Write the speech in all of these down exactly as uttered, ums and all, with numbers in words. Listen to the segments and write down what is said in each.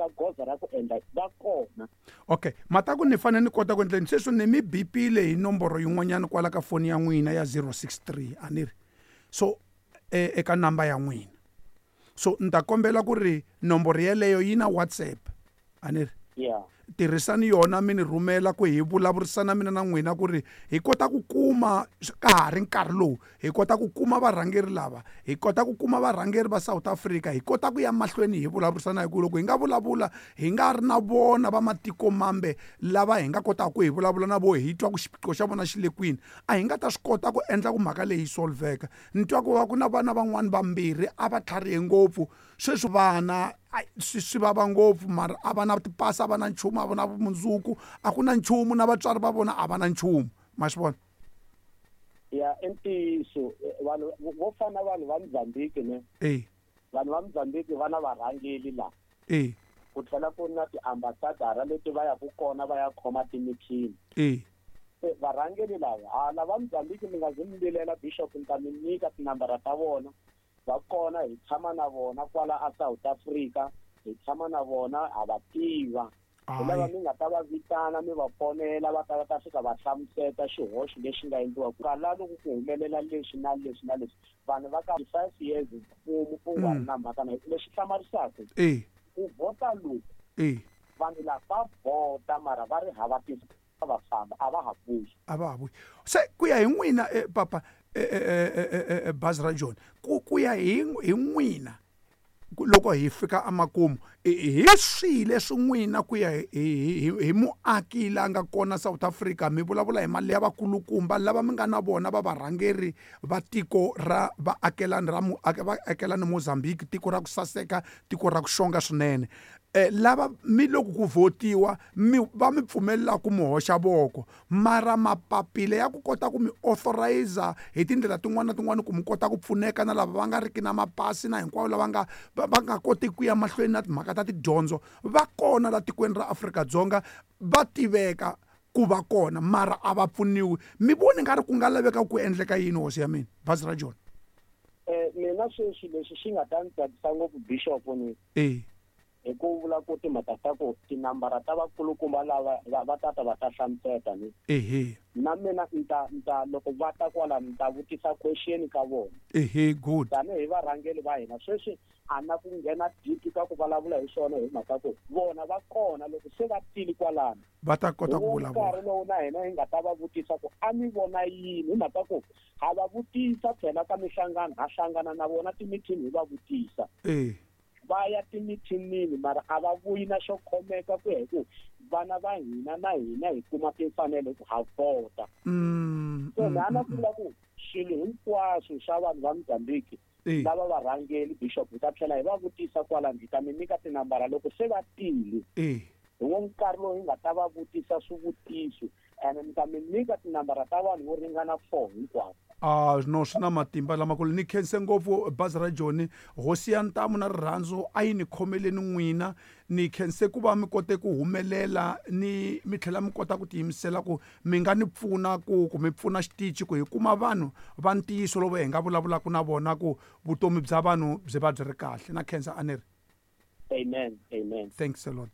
teka goza ra ku endla va kona. Okay, mataku ni fanele ni kota ku endleni sweswi ni mi bipile hi nomboro yin'wanyana kwala ka foni ya n'wina ya zero six three a ni ri so e, eka namba ya n'wina so ni ta kombela ku ri nomboro yeleyo yi na WhatsApp a ni ri yeah tirhisani yona mi ni rhumela ku hi vulavurisana mina na n'wina ku ri hi kota ku kuma ka ha ri nkarhi lowu hi kota ku kuma varhangeri lava hi kota ku kuma varhangeri va South Africa hi kota ku ya mahlweni hi vulavurisana hi ku loko hi nga vulavula hi nga ri na vona va matiko mambe lava hi nga kotaka ku hi vulavula na vo hi twa ku xiphiqo xa vona xi le kwini a hi nga ta swi kota ku endla ku mhaka leyi solveka ni twa ku va ku na vana van'wani vambirhi a va tlharihe ngopfu sweswi vana swi swi vava ngopfu mara a va na tipasi a va na nchumu a va na vumundzuku a ku na nchumu na vatswari va vona a va na nchumu ma swi vona ya i ntiyiso vanhu vo fana vanhu va Mozambique ne eh vanhu va Mozambique va na varhangeri la eh ku tlhela ku na tiambasadara leti va yaku kona va ya khoma timithini eh varhangeri lava hala va Mozambique mi nga zi mi vilela bishop ni ta mi nyika tinambara ta vona va kona hi tshama na vona kwala a South Africa hi tshama na vona ha va tiva hi lava mi nga ta va vitana mi va fonela va ta va ta fika va hlamuseta xihoxo lexi nga endliwa ku la loko ku humelela leswi na leswi na leswi vanhu va ka five years mfumo u nga ri na mhaka na lexi hlamarisaka ku vhota loku vanhu lava va vhota mara va ri hava ti va famba a va ha vuyi a va ha vuyi se ku ya hi n'wina papa bazi ra John ku ku ya hi hi n'wina loko hi fika emakumu hi swihi leswi n'wina ku ya hi hi muaki la nga kona South Africa mi vulavula hi mali ya vakulukumba lava mi nga na vona va varhangeri va tiko ra vaakelani ra vaakelani Mozambique tiko ra ku saseka tiko ra ku xonga swinene eh lava mi loko ku votiwa mi va mi pfumelela ku mi hoxa voko mara mapapila ya ku kota ku mi authorize hi tindlela tin'wana na tin'wana ku mi kota ku pfuneka na lava va nga riki na mapasi na hinkwavo lava nga va nga koti ku ya mahlweni na timhaka ta tidyondzo va kona la tikweni ra Afrika-Dzonga va tiveka ku va kona mara a va pfuniwi mi voni nga ri ku nga laveka ku endleka yini hosi ya mina bazi ra John eh mina sweswi leswi xi nga ta ni tsakisa ngopfu bishop ni eh hi ku vula ku timhaka ta ku tinambara ta vakulukumba lava va tata va ta hlamuseta ni ehe na mina ni ta ni ta loko va ta kwala ni ta vutisa question ka vona ehe good tanihi varhangeri va hina sweswi a na ku nghena deep ka ku vulavula hi swona hi mhaka ku vona va kona loko se va tile kwalano va ta kota ku vulavula nkarhi lowu na hina hi nga ta va vutisa ku a mi vona yini hi mhaka ku ha va vutisa phela ka mihlangano ha hlangana na vona timithini hi va vutisa eh va ya timithinini mara a va vuyi na xo khomeka ku ya hi ku vana va hina na hina hi kuma timfanelo ku ha vhota so na na vula ku swilo hinkwaswo swa vanhu va Mozambique lava varhangeri bishop hi ta tlhela hi va vutisa kwalano hi ta mi nyika tinambara loko se va tile hi wo nkarhi lowu hi nga ta va vutisa swivutiso ene mi ta mi nyika tinambara ta vanhu vo ringana four hinkwavo Ah no swi na matimba lamakulu ni khense ngopfu bazi ra John hosi ya ntamu na rirhandzu a yi ni khomeleni n'wina ni khense ku va mi kote ku humelela ni mi tlhela mi kota ku tiyimisela ku mi nga ni pfuna ku ku mi pfuna xitichi ku hi kuma vanhu va ntiyiso lowu hi nga vulavulaka na vona ku vutomi bya vanhu byi va byi ri kahle na khensa a ni ri Amen, amen. Thanks a lot.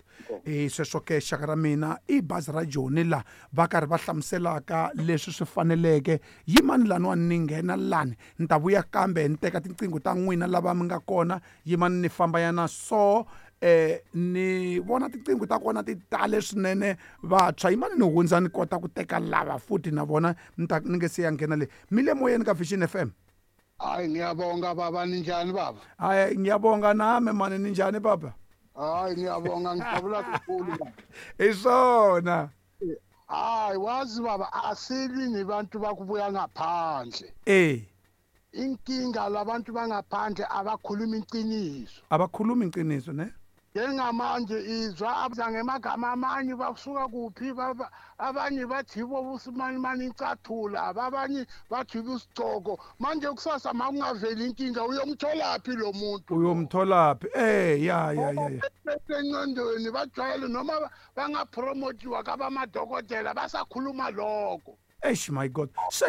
Eh sweswo ke xaka ra mina i bazi ra John la va karhi va hlamuselaka leswi swi faneleke yimani laniwani ni nghena lani ni ta vuya kambe ni teka tinqingho ta n'wina lava mi nga kona yimani ni famba yana so eh ni vona tinqingho ta kona ti tale swinene vantshwa yimani ni hundza ni kota ku teka lava futhi na vona ni ta ni nge se ya nghena le mi le moyeni ka Vision F M. Hayi ngiyabonga baba ninjani baba? Hayi ngiyabonga nami mani ninjani baba? Hayi ngiyabonga ngijabula kakhulu baba. Isona. Hayi wazi baba asilwi nebantu bakubuya ngaphandle. Eh. Inkinga labantu bangaphandle abakhuluma iqiniso. Abakhuluma iqiniso ne? Njengamanje izwa abangemagama amanye basuka kuphi abanye bathi bo busimani mani icathula abanye bathi busicoko manje kusasa makungaveli inkinga uyomtholaphi lo muntu uyomtholaphi eh ya ya ya engqondweni bajwayele noma bangapromotiwa kabamadokotela basakhuluma lokho. Eish, my God. Se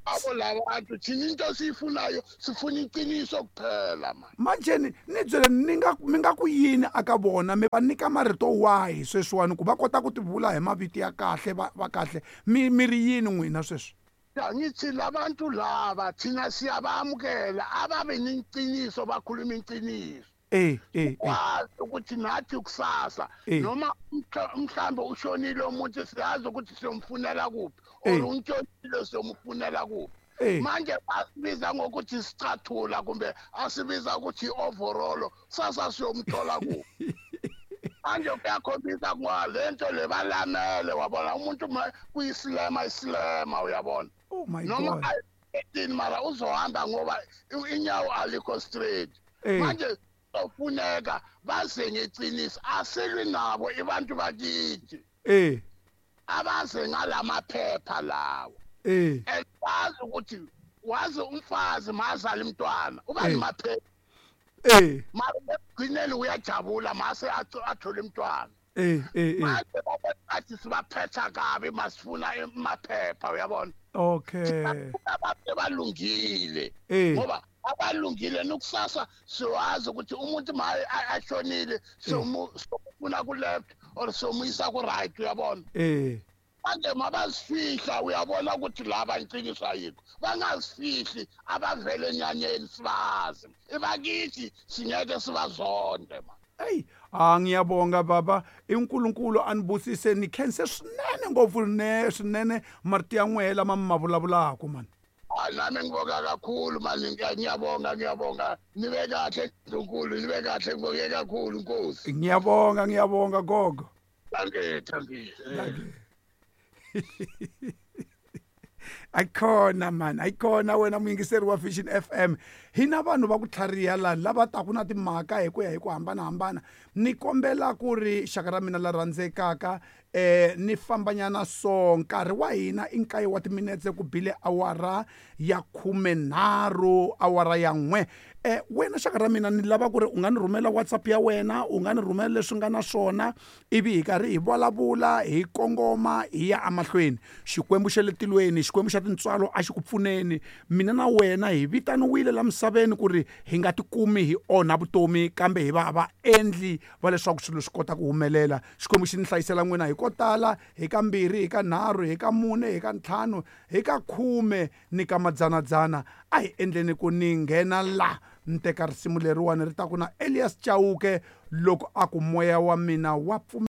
Abo labantu thina into siyifunayo sifuna iqiniso kuphela man. Manje ni ni byele ni nga mi nga ku yini aka vona mi va nyika marito wahi sweswiwani ku va kota ku ti vula hi mavito ya kahle va va kahle mi mi ri yini n'wina sweswi? Ya ngithi labantu laba thina siyabamukela ababe neqiniso bakhuluma iqiniso. Eh eh eh. Wazi ukuthi nathi kusasa Eh. noma umhla- mhlambe ushonile umuntu siyazi ukuthi siyomfunela kuphi Eh. or untshonile siyomfunela kuphi. Eh. Manje asibiza ngokuthi sicathula kumbe asibiza ukuthi i-overall sasa siyomthola kuphi. Manje kuyakhombisa ngoba le nto le balamele wabona umuntu ma- kuyisilema isilema uyabona. Oh my Noma God. ayithini mara uzohamba ngoba i- inyawo alikho straight. Eh. Manje kufuneka baze ngeqiniso asilwi nabo abantu bakithi Eh abaze ngalamaphepha lawo. eh And wazi ukuthi wazi umfazi mazala umntwana uba Eh. nemaphepha eh mara ekugcineni uyajabula mase atho- athole umntwana. eh eh eh. Manje bathi sibaphetha kabi masifuna amaphepha uyabona. Okay. Abantu balungile Eh. ngoba abalungile nokusasa siwazi ukuthi umuntu ma a- ashonile siyomu- siyomfuna ku-left or siyomuyisa ku-right uyabona. Eh. Manje mabazifihla uyabona ukuthi laba iqiniso ayikho bangazifihli abavele enyanyeni sibazi ibakithi singeke sibazonde ma. Hey, ah ngiyabonga baba iNkulunkulu anibusise nikhense swinene ngopfu ne swinene marito ya n'wehe lama mi ma vulavulaka man. Hayi nami ngibonga kakhulu mani ngiyabonga ngiyabonga nibe kahle Nkulunkulu nibe kahle ngibonge kakhulu Nkosi. Ngiyabonga ngiyabonga gogo. Dankie dankie. Ayikhona man, ayikhona wena muyingiseri wa Vision F M. Hina vanhu va ku tlhariha la lava taku na timhaka hi ku ya hi ku hambanahambana. Ni kombela ku ri xaka ra mina la rhandzekaka eh ni fambanyana so nkarhi wa hina i nkaye wa timinetse ku bile awara ya khumenharhu awara ya n'we. Eh wena xaka ra mina ni lava ku ri u nga ni rhumela WhatsApp ya wena, u nga ni rhumela leswi nga na swona ivi hi karhi hi vulavula hi kongoma hi ya emahlweni. Xikwembu xa le tilweni, Xikwembu xa tintswalo a xi ku pfuneni. Mina na wena hi vitaniwile la misaveni ku ri hi nga tikumi hi onha vutomi kambe hi va vaendli va leswaku swilo swi kota ku humelela. Xikwembu xi ni hlayisela n'wina hi ko tala, hi ka mbirhi, hi ka nharhu, hi ka mune, hi ka ntlhanu, hi ka khume ni ka madzanadzana. A hi endleni ku ni nghena la ni teka risimu leriwani ri ta ku na Elias Chauke loko a ku moya wa mina wa pfumela.